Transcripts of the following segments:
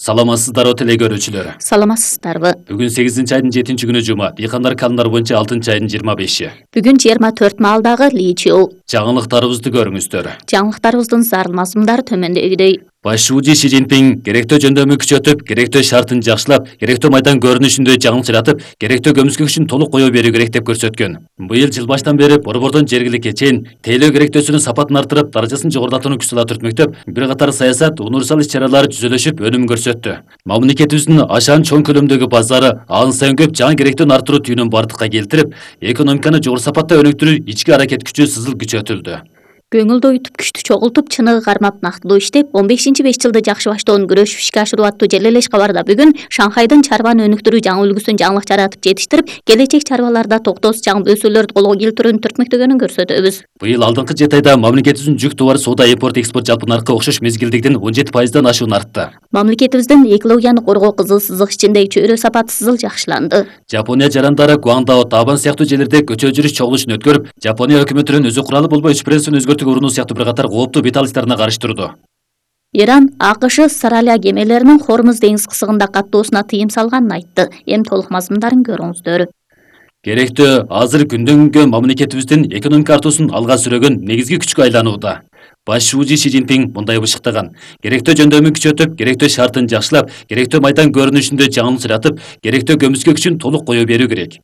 Саламатсыздарбы теле көрүүчүлөр. Саламатсыздарбы. Бүгүн 8-айдын 7-күнү жума. Дыйкандар календар боюнча 6-айдын 25-и. Бүгүн 24 маалдагы Личиу. Жаңылыктарыбызды көрүңүздөр. Жаңылыктарыбыздын зарыл мазмундары төмөндөгүдөй. Баш шууji Си Цзиньпин керектөө жөндөмү күчөтүп, керектөө шартын жакшылап, керектөө майдан көрүнүшүндө жаңылчыратып, керектөө көмүскө күчүн толук коё берүү керек деп көрсөткөн. Быйыл жыл баштан бери борбордон жергиликке чейин тейлөө керектөөсүнүн сапатын арттырып, даражасын жогорулатууну күч сала түртмөктөп, бир катар саясат, универсал иш-чаралар түзөлүшүп, өнүм көрсөттү. Мамлекетибиздин ашаан чоң көлөмдөгү базары ан сайын көп жаңы керектөөнү арттыруу түйүнүн бардыкка келтирип, экономиканы жогору сапатта өнүктүрүү ички аракет күчү сызыл күчөтүлдү. Көңүлдү ойтуп күчтү чогултуп чыныгы кармап нактылуу иштеп 15-5 жылды жакшы баштоонун күрөшүп ишке ашыруу аттуу желелеш кабарда бүгүн Шанхайдын чарбаны өнүктүрүү жаңы үлгүсүн жаңылык жаратып жетиштирип, келечек чарбаларда токтоосуз жаңы өсүүлөрдү колго келтирүүнү түртмөктөгөнүн көрсөтөбүз. Быйыл алдыңкы 7 айда мамлекетибиздин жүк товар соода импорт экспорт жалпы наркы окшош мезгилдикиден 17%дан ашуун артты. Мамлекетибиздин экологияны коргоо кызыл сызык ичиндеги чөйрө сапаты сызыл жакшыланды. Жапония жарандары Гуандао, Табан сыяктуу жерлерде көчө жүрүш чогулушун өткөрүп, Жапония өкмөтүнүн өзү куралы болбой үч принципин өзгөртүүгө урунуу сыяктуу бир катар кооптуу бет алыштарына каршы турду. Иран АКШ Саралия кемелеринин Хормуз деңиз кысыгында каттоосуна тыйым салганын айтты. Эми толук мазмундарын көрүңүздөр. Керектөө азыр күндөн күнгө мамлекетибиздин экономика артуусун алга сүрөгөн негизги күчкө айланууда. Баш шууji Си Цзиньпин мындай бышыктаган: керектөө жөндөмү күчөтүп, керектөө шартын жакшылап, керектөө майдан көрүнүшүндө жаңылчыратып, керектөө көмүскө күчүн толук коё берүү керек.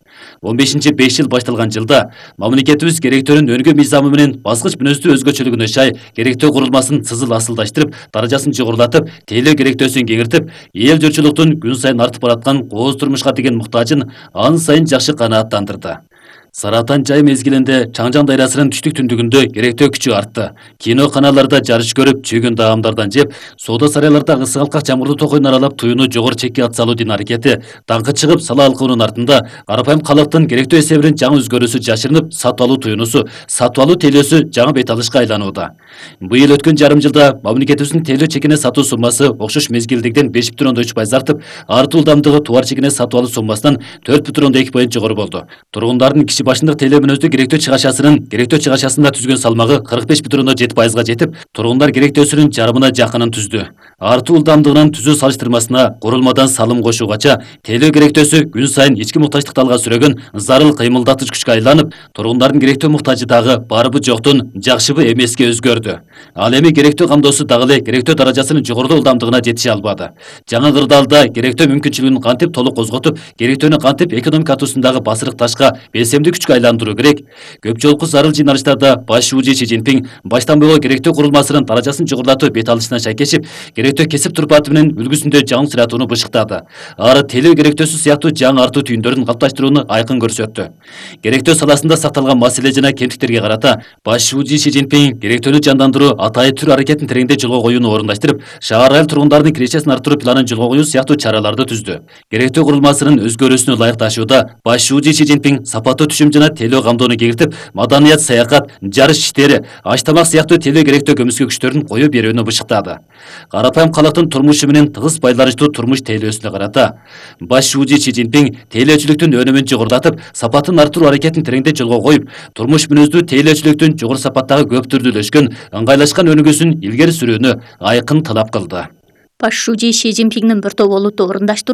15-5 жыл башталган жылда мамлекетибиз керектөөнүн өнүгүү мыйзамы менен баскыч мүнөздүү өзгөчөлүгүнө шай керектөө курулмасын сызыл асылдаштырып, даражасын жогорулатып, тейлөө керектөөсүн кеңиртип, эл журтчулуктун күн сайын артып бараткан кооз турмушка деген муктажын ан сайын жакшы канааттандырды. Саратан жай мезгилинде Чаңжан дайрасынын түштүк түндүгүндө керектөө күчү артты. Кино каналларда жарыш көрүп, чүйгөн даамдардан жеп, соода сарайларда ысык алкак жамгырдуу токойун аралап туюуну жогору чекке ат салуунун аракети даңкы чыгып сала алкуунун артында карапайым калктын керектөө эсебинен жаңы өзгөрүүсү жашырынып, сатып алуу туюнусу, сатып алуу тейлөөсү жаңы бет алышка айланууда. Быйыл өткөн жарым жылда мамлекетибиздин тейлөө чекине сатуу суммасы окшош мезгилдикиден 5,3% артып, артуу ылдамдыгы товар чекине сатып алуу суммасынан 4,2% жогору болду. Тургундардын киши башындык тейлөө мүнөздүү керектөө чыгашасында түзгөн салмагы 45,7%га жетип, тургундар керектөөсүнүн жарымына жакынын түздү. Артуу ылдамдыгынын түзүү салыштырмасына курулмадан салым кошуугача тейлөө керектөөсү күн сайын ички муктаждыкты алга сүрөгөн зарыл кыймылдатыч күчкө айланып, тургундардын керектөө муктажы дагы барбы жоктун, жакшыбы эмеске өзгөрдү. Ал эми керектөө камдоосу дагы эле керектөө даражасынын жогорудуу ылдамдыгына жетише албады. Жаңы кырдаалда керектөө мүмкүнчүлүгүн кантип толук козготуп, керектөөнү кантип экономика артуусундагы басырык ташка белсемдүү күчкө айландыруу керек. Көп жолку зарыл жыйналыштарда баш шууji Си Цзиньпин баштан бери керектөө курулмасынын даражасын жогорулатуу бет алышына шайкешип, керектөө кесип турпаты менен үлгүсүндө жаңылчыратууну бышыктады. Ары тейлөө керектөөсү сыяктуу жаңы артуу түйүндөрүн калыпташтырууну айкын көрсөттү. Керектөө саласында сакталган маселе жана кемтиктерге карата баш шууji Си Цзиньпин керектөөнү жандандыруу, атайы түр аракетин тереңдей жолго коюуну орундаштырып, шаар айыл тургундардын кирешесин арттыруу планын жолго коюу сыяктуу чараларды түздү. Керектөө курулмасынын өзгөрүүсүнө ылайыкташууда баш шууji Си Цзиньпин сапаттуу түшүм жана тейлөө камдоону кеңиртип, маданият, саякат, жарыш иштери, аш тамак сыяктуу тейлөө керектөө көмүскө күчтөрүн коё берүүнү бышыктады. Карапайым калктын турмушу менен тыгыз байланыштуу турмуш тейлөөсүнө карата баш шууji Си Цзиньпин тейлөөчүлүктүн өнүмүн жогорулатып, сапатын арттыруу аракетин тереңдей жолго коюп, турмуш мүнөздүү тейлөөчүлүктүн жогору сапаттагы көп түрдүүлөшкөн, ыңгайлашкан өнүгүүсүн илгери сүрүүнү айкын талап кылды. Баш шууji Си Цзиньпиндин бір топ олуттуу орундаштары